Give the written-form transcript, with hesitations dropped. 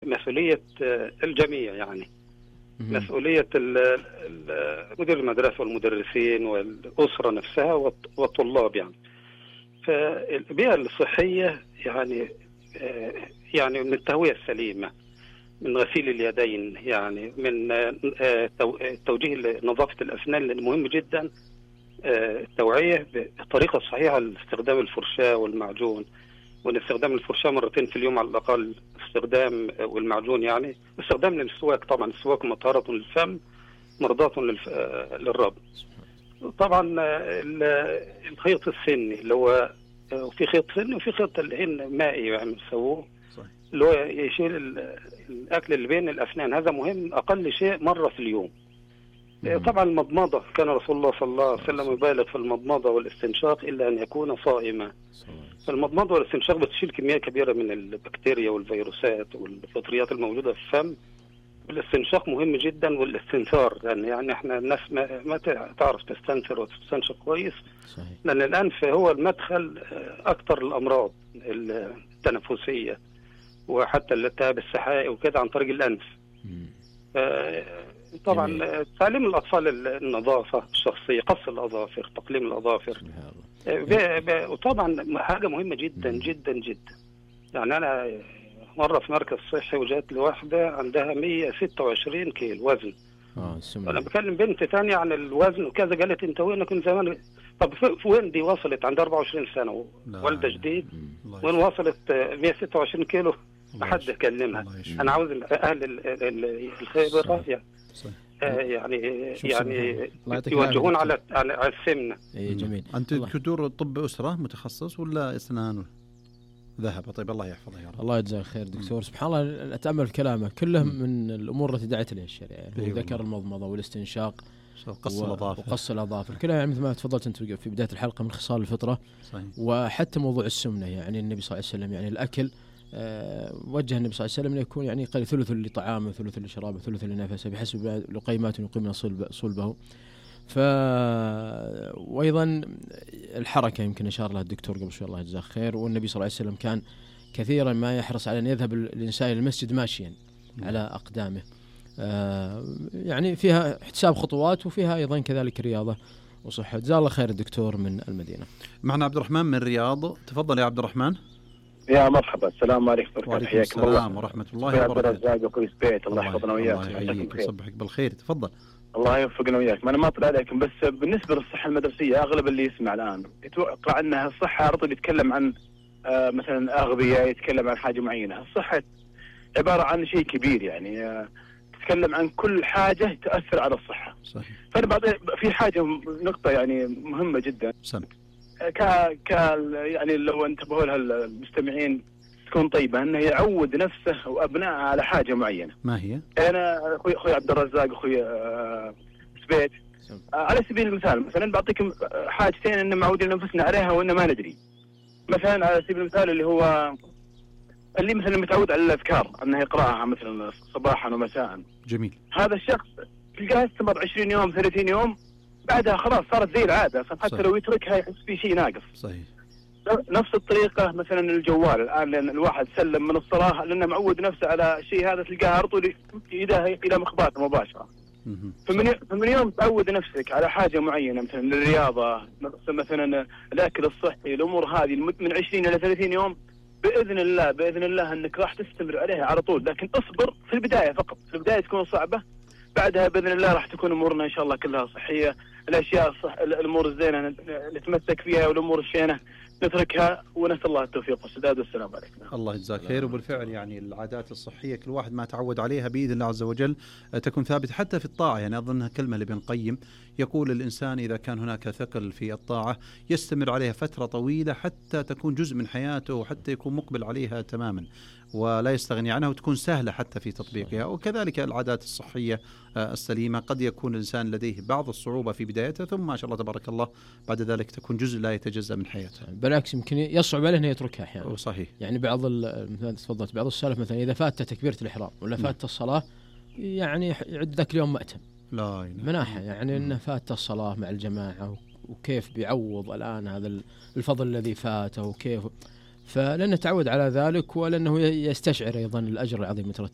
مسؤولية الجميع، يعني مسؤولية مدير المدرسة والمدرسين والأسرة نفسها والطلاب. يعني فالبيئة الصحية يعني من التهوية السليمة، من غسيل اليدين، يعني من توجيه نظافة الأسنان، لأنه مهم جدا التوعية بالطريقة الصحيحة لاستخدام الفرشاة والمعجون، وان استخدام الفرشاة مرتين في اليوم على الأقل، استخدام والمعجون يعني استخدام للسواك. طبعا السواك مطهرة للفم مرضاة للرب. طبعا الخيط السني اللي هو في خيط سني وفي خيط العين مائي يعني بيسووه، اللي هو يشيل الأكل اللي بين الأسنان. هذا مهم أقل شيء مرة في اليوم. طبعا المضمضة، كان رسول الله صلى الله عليه وسلم يبالغ في المضمضة والاستنشاق إلا أن يكون صائما. فالمضمضة والاستنشاق بتشيل كمية كبيرة من البكتيريا والفيروسات والفطريات الموجودة في الفم. الاستنشاق مهم جدا، والاستنثار، يعني احنا الناس ما تعرف تستنثر وتستنشق كويس، لأن الأنف هو المدخل أكثر الأمراض التنفسية وحتى الالتهاب السحائي وكده عن طريق الأنف. طبعا تعليم الأطفال النظافة الشخصية، قص الأظافر، تقليم الأظافر، وطبعا حاجة مهمة جدا جدا جدا. يعني أنا مرة في مركز صحي وجات لي واحدة عندها 126 كيلو وزن. أنا بكلم بنت ثانية عن الوزن وكذا، قالت أنت وينك من زمان؟ طب وين دي وصلت؟ عندها 24 سنة والدة جديد، وين وصلت 126 كيلو؟ ما حد يكلمها. أنا عاوز أهل الخبرة يعني يوجهون على السمنة. جميل. أنت دكتور طب أسرة متخصص ولا أسنان ذهب؟ طيب الله يحفظه يا رب. الله يجزاه خير دكتور. سبحان الله أتأمل كلامه كله من الأمور التي دعت لها الشريعة. ذكر المضمضة والاستنشاق وقص الأظافر كلها، يعني مثل ما تفضلت أنت في بداية الحلقة من خصال الفطرة. صحيح. وحتى موضوع السمنة، يعني النبي صلى الله عليه وسلم يعني الأكل وجه النبي صلى الله عليه وسلم يكون يعني قال ثلث لطعامه ثلث لشرابه ثلث لنفسه بحسب لقيمات يقيمن صلبه. وأيضا الحركة يمكن أشار لها الدكتور قبل شوي الله يجزاه خير. والنبي صلى الله عليه وسلم كان كثيرا ما يحرص على أن يذهب الإنسان إلى المسجد ماشيا على أقدامه، يعني فيها احتساب خطوات وفيها أيضا كذلك رياضة وصحة. جزاه الله خير الدكتور من المدينة. معنا عبد الرحمن من الرياض، تفضل يا عبد الرحمن. يا مرحبا، السلام عليكم. وعليكم السلام ورحمة الله وبركاته. الله يحفظنا وياك. الله يحييك ويصبحك بالخير. تفضل. الله يوفقنا وياك. ما أنا ما أطلع عليكم، بس بالنسبة للصحة المدرسية أغلب اللي يسمع الآن يتوقع أنها الصحة على طول يتكلم عن مثلا أغذية، يتكلم عن حاجة معينة. الصحة عبارة عن شيء كبير، يعني تتكلم عن كل حاجة تأثر على الصحة. صحيح. فأنا بعطي في حاجة نقطة يعني مهمة جدا. يعني لو انتبهوا لها المستمعين تكون طيبة، أنه يعود نفسه وأبنائه على حاجة معينة. ما هي؟ أنا أخوي عبد الرزاق أخوي سبيت على سبيل المثال مثلا بعطيكم حاجتين أن معودين أنفسنا عليها وأن ما ندري. مثلا على سبيل المثال اللي مثلا متعود على الأذكار أنه يقرأها مثلا صباحا ومساء. جميل. هذا الشخص تلقاه استمر 20 يوم 30 يوم، بعدها خلاص صارت زي العادة، حتى لو يتركها يحس في شيء ناقص. صحيح. نفس الطريقة مثلا الجوال الآن، لأن الواحد سلم من الصلاة لأنه معود نفسه على شيء هذا، تلقاه على طول يدها إلى مخباته مباشرة. فمن يوم تعود نفسك على حاجة معينة مثلا الرياضة، مثلا الأكل الصحي، الأمور هذه من 20 إلى 30 يوم، بإذن الله أنك راح تستمر عليها على طول. لكن اصبر في البداية فقط، في البداية تكون صعبة، بعدها بإذن الله راح تكون أمورنا إن شاء الله كلها صحية. الأشياء الأمور الزينة نتمسك فيها، والأمور الشينة نتركها، ونسأل الله التوفيق والسداد. والسلام عليكم. الله يجزاك خير. وبالفعل يعني العادات الصحية كل واحد ما تعود عليها بإذن الله عز وجل تكون ثابتة حتى في الطاعة. يعني أظنها كلمة لابن القيم، يقول الإنسان إذا كان هناك ثقل في الطاعة يستمر عليها فترة طويلة حتى تكون جزء من حياته، وحتى يكون مقبل عليها تماما ولا يستغني عنها، وتكون سهلة حتى في تطبيقها. وكذلك العادات الصحية السليمة قد يكون الإنسان لديه بعض الصعوبة في بدايته، ثم ما شاء الله تبارك الله بعد ذلك تكون جزء لا يتجزأ من حياته. بالعكس يمكن يصعب عليه أنه يتركها أحيانا. صحيح. يعني مثلا تفضلت بعض السلف مثلا إذا فات تكبيرة الإحرام ولا فات الصلاة يعني يعد ذاك اليوم مأتم. لا مناحة يعني أنه فات الصلاة مع الجماعة، وكيف بيعوض الآن هذا الفضل الذي فاته، وكيف فلأنه تعود على ذلك، ولأنه يستشعر أيضا الأجر العظيم يترتب